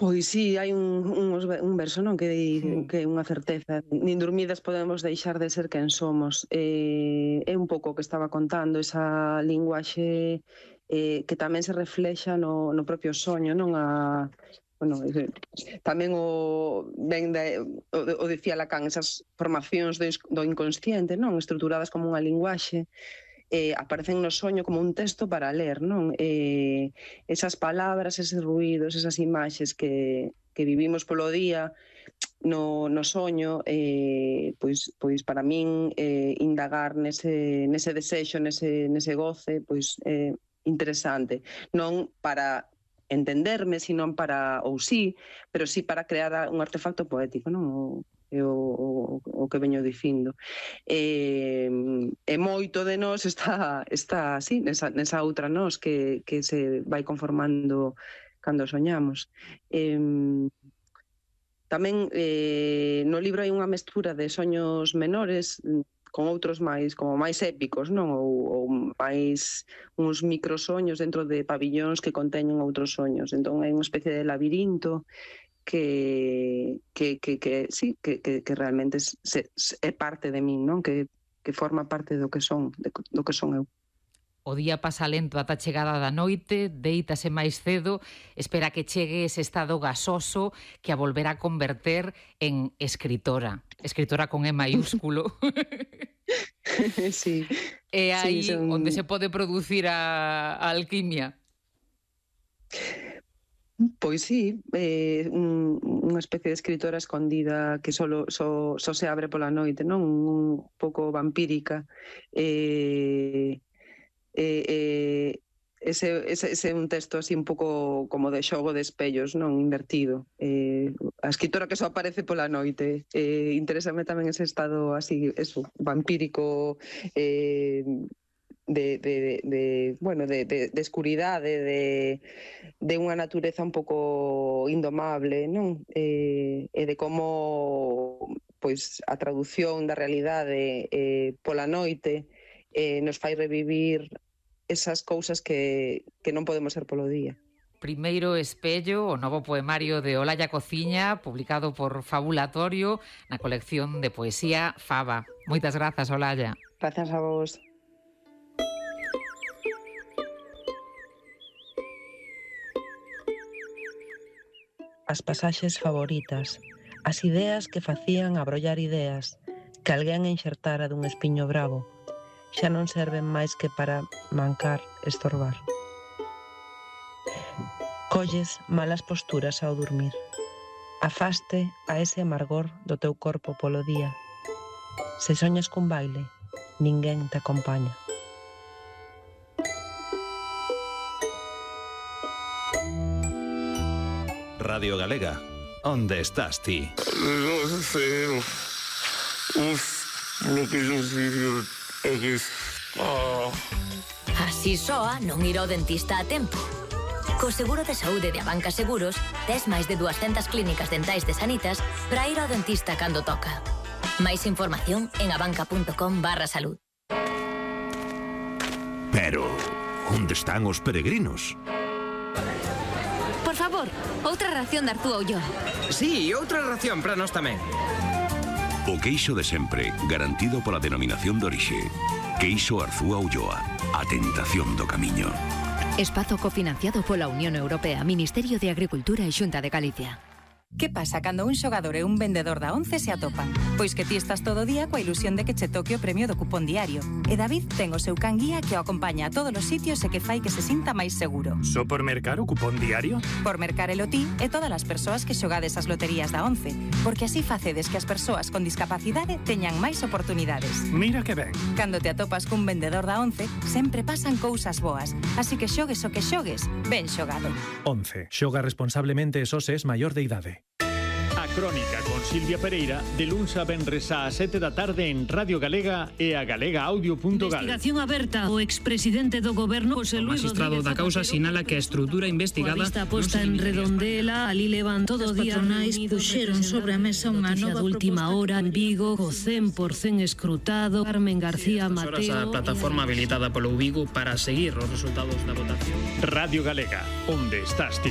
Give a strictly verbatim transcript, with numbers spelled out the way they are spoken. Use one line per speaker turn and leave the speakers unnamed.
Pois sí, hai un, un, un verso, non, que di mm. que é unha certeza. Nin dormidas podemos deixar de ser quen somos. Eh, é un pouco o que estaba contando, esa linguaxe eh, que tamén se reflexa no, no propio soño, non? A, bueno, tamén o ben de, o, o dicía Lacan, esas formacións do, do inconsciente, non? Estruturadas como unha linguaxe, Eh, aparecen no soño como un texto para ler, non? Eh, esas palabras, eses ruídos, esas imaxes que, que vivimos polo día no, no soño, eh, pois, pois para min eh, indagar nese, nese desexo, nese, nese goce, pois é eh, interesante. Non para entenderme, sino para, ou sí, pero sí para crear un artefacto poético, non? O, O, o, o que veño dicindo. E, e moito de nós está, está así, nesa, nesa outra nós que, que se vai conformando cando soñamos. E, tamén eh, no libro hai unha mestura de soños menores con outros máis, como máis épicos, non? Ou, ou máis uns microsoños dentro de pabillóns que conteñen outros soños. Entón hai unha especie de labirinto que que que que sí, que que que realmente se, se, é parte de min, non? Que que forma parte do que son, de, do que son eu.
O día pasa lento ata a chegada da noite, deítase máis cedo, espera que chegue ese estado gasoso que a volverá a converter en escritora. Escritora con E maiúsculo.
Sí.
É aí
sí, son...
onde se pode producir a, a alquimia.
Pois sí, eh, un, unha especie de escritora escondida que solo, so, so se abre pola noite, non? Un pouco vampírica. Eh, eh, eh, ese, ese, ese é un texto así un pouco como de xogo de espellos, non? Invertido. Eh, a escritora que só aparece pola noite. Eh, interésame tamén ese estado así, eso, vampírico, eh, De, de, de, bueno, de, de, de escuridade, de, de unha natureza un pouco indomable, non? E, e de como pois a traducción da realidade eh, pola noite eh, nos fai revivir esas cousas que, que non podemos ser polo día.
Primeiro espello, o novo poemario de Olalla Cociña, publicado por Fabulatorio na colección de poesía Faba. Moitas grazas, Olalla.
Grazas a vos. As pasaxes favoritas, as ideas que facían abrollar ideas, que alguén enxertara dun espiño bravo, xa non serven máis que para mancar, estorbar. Colles malas posturas ao dormir. Afaste a ese amargor do teu corpo polo día. Se soñas cun baile, ninguén te acompaña.
Radio Galega, onde estás ti?
Non sei, uf, lo que non sei é que...
Así soa non ir ao dentista a tempo. Co seguro de saúde de Abanca Seguros, tes máis de dúascentas clínicas dentais de Sanitas para ir ao dentista cando toca. Máis información en abanca.com barra salud.
Pero, onde están os peregrinos?
Por favor, outra ración de Arzúa Ulloa.
Sí, outra ración para nós tamén.
O queixo de sempre, garantido pola denominación de orixe. Queixo Arzúa Ulloa, a tentación do camiño.
Espazo cofinanciado pola Unión Europea, Ministerio de Agricultura e Xunta de Galicia.
Que pasa cando un xogador e un vendedor da once se atopan? Pois que ti estás todo o día coa ilusión de que che toque o premio do cupón diario. E David ten o seu can guía que o acompaña a todos os sitios e que fai que se sinta máis seguro.
Só por mercar o cupón diario?
Por mercar el o ti e todas as persoas que xogades as loterías da once, porque así facedes que as persoas con discapacidade teñan máis oportunidades.
Mira que ben.
Cando te atopas cun vendedor da once, sempre pasan cousas boas. Así que xogues o que xogues, ben xogado.
once. Xoga responsablemente e só se es maior de idade.
A Crónica con Silvia Pereira, de luns a venres á sete da tarde en Radio Galega e a galega audio punto gal.
Investigación aberta. O expresidente do goberno, José Luis
Rodríguez Zapatero, o magistrado da causa sinala que a estrutura investigada
está posta en Redondela, ali levantou todo o día patronais puxeron sobre a mesa unha nova de última hora en Vigo, co cen por cen escrutado. Carmen García Mateo,
a plataforma habilitada polo Vigo para seguir os resultados da votación.
Radio Galega, onde estás ti?